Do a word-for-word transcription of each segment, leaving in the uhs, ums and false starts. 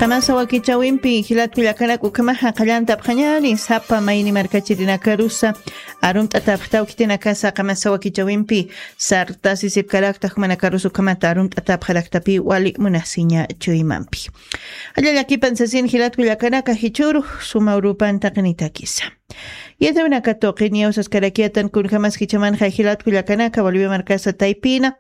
Qamasa wakichawimpi jilatku llakanak ukhamaxa qallantapxañani sapa mayni markachirinakarusa arumt'atapxtaw khitinakasa qamasa wakichawimpi sartasisipkarakta jumanakarusa ukhamata arumt'atapxaraktapi wali munasiña chuymampi. Alla llakipan sasin jilatku llakanaka jichuru suma urupan taqinitakisa. Yatawinaka tuqiniyaw saskarakiyatan kunjamas jichamanxa jilatku llakanaka Bolivia markasa taypina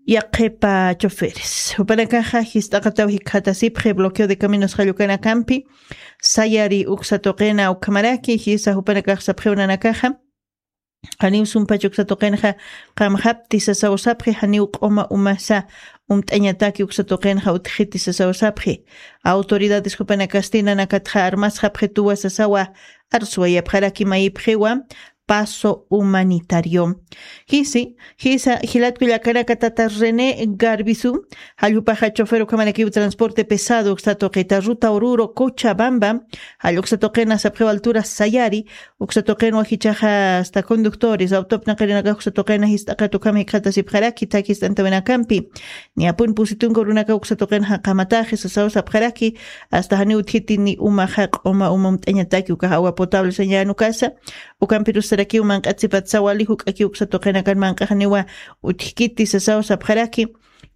yaqhipa choferes jupanakaxa jist'aqataw jikxatasipxi bloqueo de caminos jallukanakampi sayari uksa tuqina ukhamaraki jisa jupanakax sapxiw nanakaxa janiw sumpach uksa tuqinxa qamxapti sasaw sapxi janiw q'uma umasa umt'añataki uksa tuqinxa utjiti sasaw sapxi. Autoridades jupanakasti nanakatxa armasxapxituwa sasawa arsuwayapxaraki mayipxiwa paso humanitario. Jisi jisa jilatku llakanaka tata René Garbisu jallupaxa chofer ukhamanakiw transporte pesado uksa tuqita ruta ururo Cochabamba jalluksa tuqina sapxiw altura sayari uksa tuqinwa jichaxa asta conductores autopnaqarinakax uksa tuqina jist'aqat ukham jikxatasipxaraki thakist'antawinakampi. Niyapun pusitunka urunakaw uksa tuqinxa qamataxi sasaw sapxaraki asta janiw utjiti ni umaxa q'uma uma umt'añataki ukax agua potable sañanukasa ukampirusarakiw manq'atsipatsa wali juk'aki uksa tuqinakan manq'axaniwa utjkiti sasaw sapxaraki.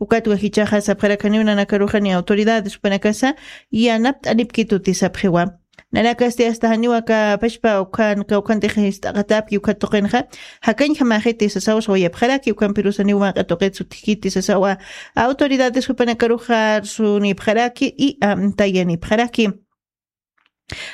Ukatwa jichaxa sapxarakaniw nanakaruxani autoridades jupanakasa yanapt'anipkituti sapxiwa. Nanakasti asta janiwa kapashpa ukhan kawkhantix jist'aqatapki ukhat tuqinxa jakañjamaxiti sasaw sawayapxaraki ukampirusaniw manq'a tuqit sutjkiti sasawa. Autoridades jupanakaruxa arsunipxaraki y amtayanipxaraki.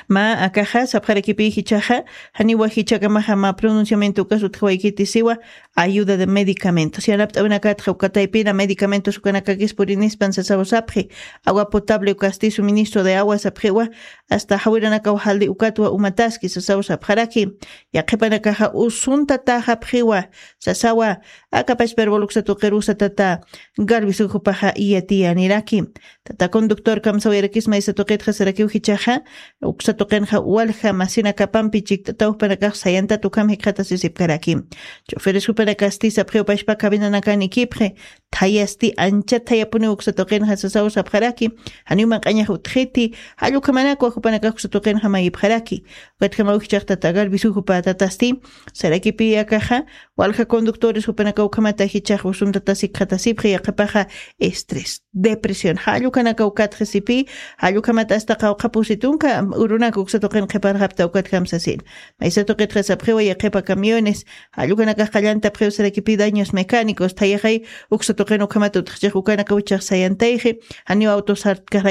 Mä akaxa sapxarakipi jichaxa janiwa jichakamaxa mä pronunciamiento ukas utjawaykiti siwa ayuda de medicamentos yanapt'awinakatxa uka taypina medicamentos ukanakakis purinispan sasaw sapxi. Agua potable ukasti suministro de agua sapxiwa asta jawiranakaw jaldi ukatwa umataski sasaw sapxaraki. Yaqhipanakaxa usuntataxapxiwa sasawa akapachpa hervol uksa tuqirusa tata Garbisu jupaxa iyatiyaniraki. Tata conductor kamsawirakisma isa tuqitxa sarakiw jichaxa uksa tuqinxa walja masinakapampi chikt'ataw jupanakax sayantat ukham jikxatasisipkaraki. Choferes jupanakasti sapxiw pashpa cabinanakan ikipxi thayasti ancha thayapuniw uksa tuqinxa sasaw sapxaraki. Janiw manq'añax utjiti jallukhamanakwa jupanakax uksa tuqinxa mayipxaraki. Ukatjamaw jichax tata Garbisu jupa tatasti sarakipi akaxa walja conductores jupanakaw ukhamata jichax usuntatas jikxatasipxi yaqhipaxa estrés depresión jallukanakaw katxisipi. Jallukhamata asta qawqha pusitunka urunaka uksa tuqin qhiparxapta ukatjam sasin. Maysa tuqitxa sapxiwa yaqhipa camiones jallukanakax qallantapxiw sarakipi daños mecánicos thayaxay uksa tuqin ukhamata utjchix ukanakaw jichax sayantayxi. Janiw autos artkaxray